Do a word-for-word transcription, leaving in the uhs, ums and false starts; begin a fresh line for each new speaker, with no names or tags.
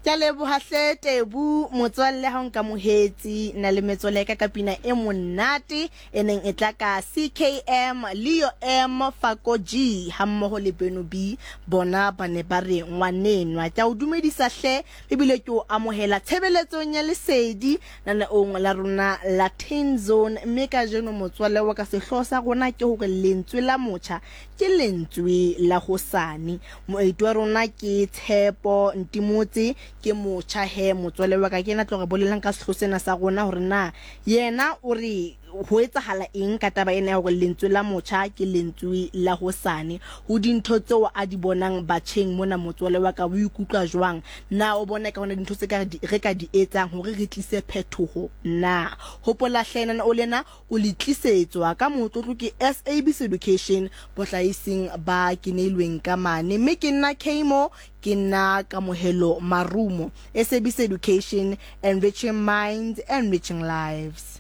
Ke a leboha hle Tebu motswalle ha o nkamohetse nna le metswalle ya ka ka pina e monate e neng e tla ka C K M, Leo M, Fako G hammoho le Beno B. Bona ba ne ba re ngwanenwa. Ke a o dumedisa hle ebile ke o amohela tshebeletsong ya lesedi naneong la rona la Teen Zone, mme kajeno motswalle wa ka sehlooho sa rona ke hore lentswe la motjha ke lentswe la hosane. Moeti wa rona ke Tshepo Ntimotse, ke motjha he motswalle wa ka, ke yena tlo re bolelang ka sehlooho sena sa rona hore na yena o re ho etsahala eng ka taba ena ya hore lentswe la motjha ke lentswe la hosane. Ho dintho tseo a di bonang batjheng mona, motswalle wa ka o ikutlwa jwang? Na o bona ka hona dintho tse ka re ka di etsang hore re tlise phetoho na? Hopola hle nana o lena o le tlisetswa ka motlotlo ke S A B C Education bohlahising ba keneilweng ka mane, mme ke nna Kamo, ke nna Kamohelo Marumo. S A B C Education, enriching minds, enriching lives.